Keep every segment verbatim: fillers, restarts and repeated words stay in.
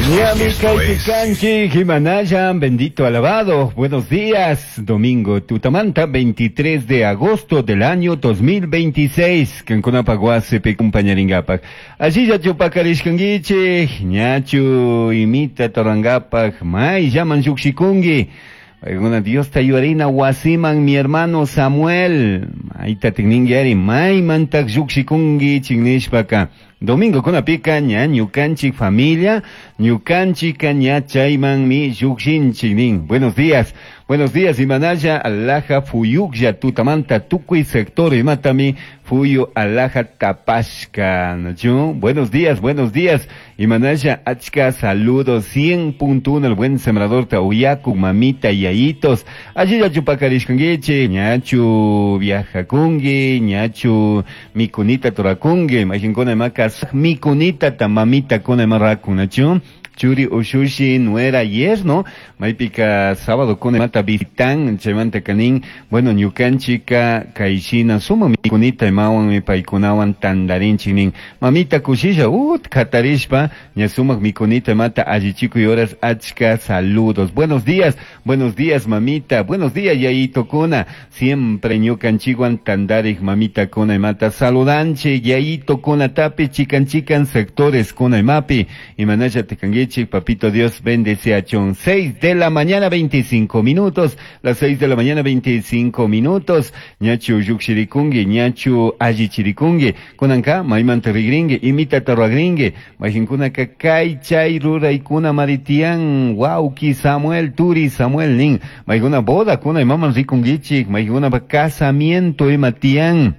Ñami kaypi Jimanaya, bendito alabado. Buenos días, domingo Tutamanta, veintitrés de agosto del año dos mil veintiséis. Kankunapaq wasipi kumpañarinkapak. Allillachu pakarishkankichik, ñachu imita torankapak, mayllaman llukshikunki. Paykuna Diosta yuarina wasiman mi hermano Samuel. Mayta tikninki ari, maymantak llukshikunki nishpaka. Domingo kunapika ña ñukanchik familia, ñukanchika ña chaymanmi llukshinchik nin. Buenos días, buenos días imanaya alaja fuyuklla tutamanta tukuy sector imatami fuyu alaja tapashka. ¿No? Buenos días, buenos días imanaya achka saludos cien punto uno el buen sembrador tauyaku mamita y yayitos. Allí ya chupakarishkanguichi, ñachu viajakungi, ñachu mikunita torakungi, imaginkuna makas mikunita ta mamita kuna marrakunachu. Churi ushushi nuera yerno, maypika sábado kuna mata visitan, chaymanta kanin, bueno, ñukanchika kayshina suma mikunita imawan mi paykunawan tandarinchik nin. Mamita kushisha, ut katarishpa, ña sumak mikunita mata allichikuy horas achka saludos. Buenos días, buenos días mamita, buenos días yayito kuna, siempre ñukanchikwan tandarik mamita kuna imata saludanchi, yayito kuna tapi chikan chikan sectores kuna imapi, imanaya tekangi. Papito Dios bendice a Chon. seis de la mañana veinticinco minutos, las seis de la mañana veinticinco minutos, ñachu yukshirikungi, ñachu allichirikungi, kunanka maymanta rigringi, imita tarragringi, majinkunaka kay chay ruraykuna maritian, wauki Samuel, turi Samuel nin, maykuna boda kuna imaman rikungichik, maykuna casamiento imatian,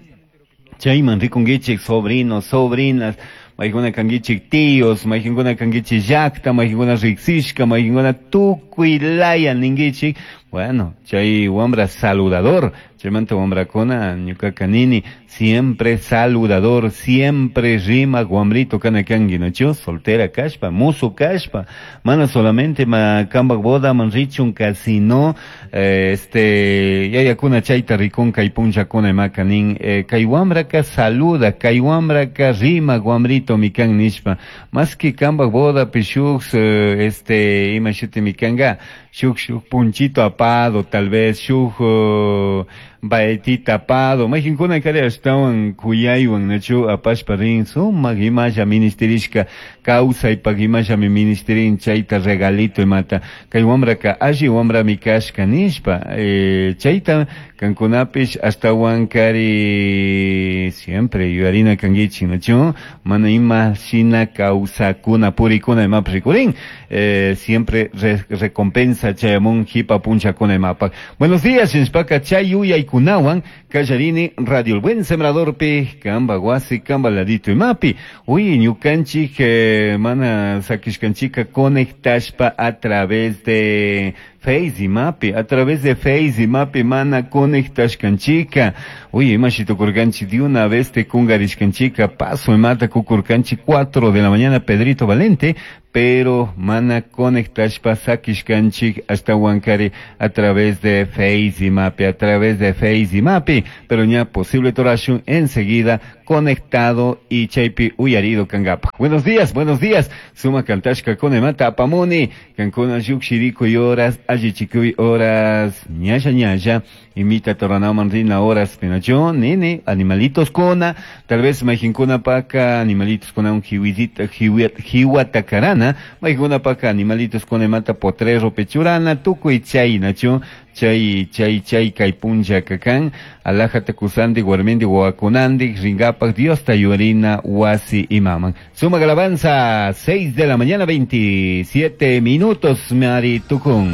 chayman rikungichik, sobrinos, sobrinas, maykuna kangichik tíos, maykuna kangichik llaqta, maykuna riqsishka, maykuna tukuy laya ningichik. Bueno, chay wambra saludador, chaymanta wambrakuna ñuqaqa nini, siempre saludador, siempre rima wambrito kana kanki, ¿no? Soltera kashpa, musu kashpa, mana solamente ma kambak boda man richunka, sino eh, este yayakuna chayta rikunka y punchakuna imaka nin, eh, kay wambraka saluda, kay wambraka rima wambrito mikan nishpa, más que kambak boda pishuk, eh, este ima shuti mikanga, shuk shuk punchito apado, tal vez shuk uh, baetita apado, majinkuna kari ashtawan kuyaywan nachu apashpa rin sumak imasha ministerishka kawsaypak imasha mi ministerin chayta regalito imata kay wambraka alli wambrami kashka nishpa, eh, chayta kankunapish ashtawan kari siempre yuyarina kankichik nachu mana ima shina kawsakuna purikuna imapish rikurin, eh, siempre re recompensa chayamun hipa punchakuna imapak. Buenos días, nishpaka chay yuyaykunawan kallarini Radio El Buen Sembrador pi kamba wasi kamba ladito imapi. Uy, ñukanchik eh, mana sakishkanchika conectashpa a través de Face imapi, a través de Face imapi mana conectashkanchika. Uy, imashitukurkanchik de una vez te kungarishkanchika, paso imata kukurkanchik cuatro de la mañana Pedrito Valente, pero mana conectashpa sakishkanchik hasta Huancari a través de Face imapi, a través de Face imapi, pero ya posible torashun enseguida conectado y chaypi uyarido kangapa. Buenos días, buenos días. Suma kantashka konemata apamuni, kankuna yukshiriku y horas, allichikuy horas, ñalla ñalla, imita toranaman rina horas, penacho, nene, animalitos kona, tal vez majinkuna paka, animalitos kona un jiwizita, jiwatakarana, majinkuna paka, animalitos kona mata potrero pechurana, tukuy chay nacho, chay chay chay kay puncha kakan, alajata kusandi, guarmindi, guakunandi, ringapak, Dios tayurina, wasi imaman. Suma alabanza, seis de la mañana, veintisiete minutos, Mari Tukun.